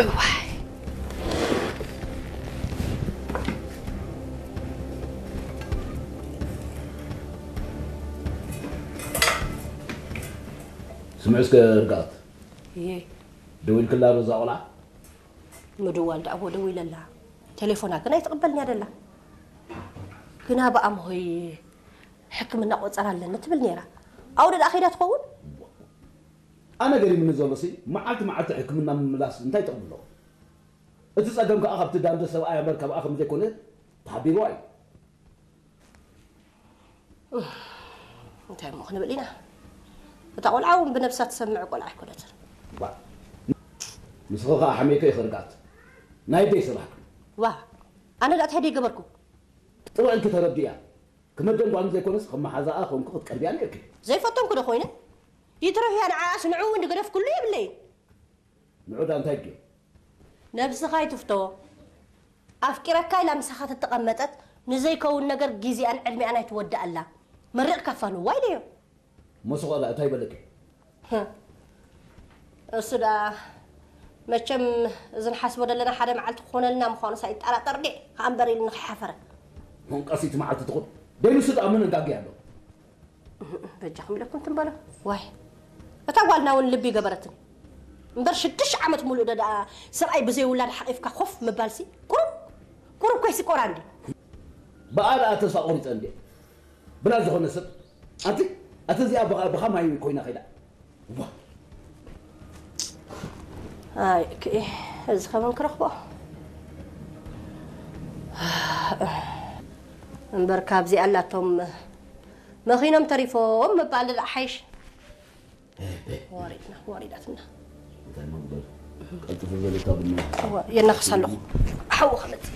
እዋይ። ስምዒ እስከ ርግኣት። እየ። ደዊልክላ ዶ እዛ ቆልዓ? ምድዋል ደኣ እዎ ደዊለላ። ቴሌፎና ግን ኣይትቕበልን እያ ደላ። ግና ብኣምሆይ ሕክምና ቆጸራ ኣለኒ ትብል ነይራ። ኣውደ ደኣ ከይዳ ትኸውን? ኣነ ገሪምኒ ዘሎ ሲ መዓልቲ መዓልቲ ሕክምና ምምላስ እንታይ ጠቕሚ ኣለዎ? እቲ ጸገም ከኣ ካብቲ ዳንደ ሰብኣይ እምበር ካብኣ ከም ዘይኮነ ተሓቢርዋ እዩ። እንታይ እሞ ክንብል ኢና? እታ ቆልዓ እውን ብነብሳ ትሰምዕ ቆልዓ ኣይኮነትን። ባ ንስኺ ከኣ ሓሜከ ይኽርጋት ናይ ደይ ስራሕ ዋ ኣነ ዳኣ እንታይ ደይ ገበርኩ? ጥሩዕ ኢልኪ ተረዲእያ። ክመደን ጓል ዘይኮነስ ከም መሓዛኣ ኮንኩ ክትቀርብያ ነይርኪ። ዘይፈተንኩ ዶ ኮይነ? ይትረፍያ ንዓኣስ ንዑ እውን ድገደፍኩሉ የብለይን። ንዑ ዳ እንታይ ድዩ? ነብስኻ ኣይትፍቶ። ኣፍቂረካ ኢላ ምሳኻ ተተቐመጠት ንዘይከውን ነገር ግዜኣን ዕድሚኣን ኣይትወድኣላ። መሪቕካ ፋንዋ ኢለዮ። መሱቐላ እንታይ በለኪ? እሱ ደኣ መቸም እዚ ንሓስቦ ዘለና ሓደ መዓልቲ ክኾነልና ምዃኑ ሳይጠራጠር ዲየ ከኣ እምበር ኢሉ ንኸይሓፈረ። ሞንቀሲት መዓልቲ ትኹን ደይንሱ ደኣ ምን ጋጊ ኣሎ? በጃኹም ኢለኩም ትንበሎ። ዋይ እታ ጓልና እውን ልቢ ገበረትኒ እምበር ሽዱሽተ ዓመት ሙሉእ ዶ ደኣ ሰብኣይ ብዘይ ውላድ ሓቒፍካ ኮፍ ምባልሲ ቁሩብ ቁሩብ ኮይሲ ቆራ እንዲ። ብኣ ደኣ ተስፋ ቆሪፀ እንዲ ብላ ዝኾነ ሰብ ኣቲ ኣቲ እዚኣ ብኻ ማይ ኮይና ኸይዳ። ኣይ ክኢ እዚ ከመን ክረኽቦ እምበር ካብዚ ኣላቶም መኺኖም ተሪፎም ምባል ደኣ ሓይሽ። ወሪድና ወሪዳትና። ቀልጥፍ በለታ ብና የናኽስ ኣለኹ ሓው ከመፅእ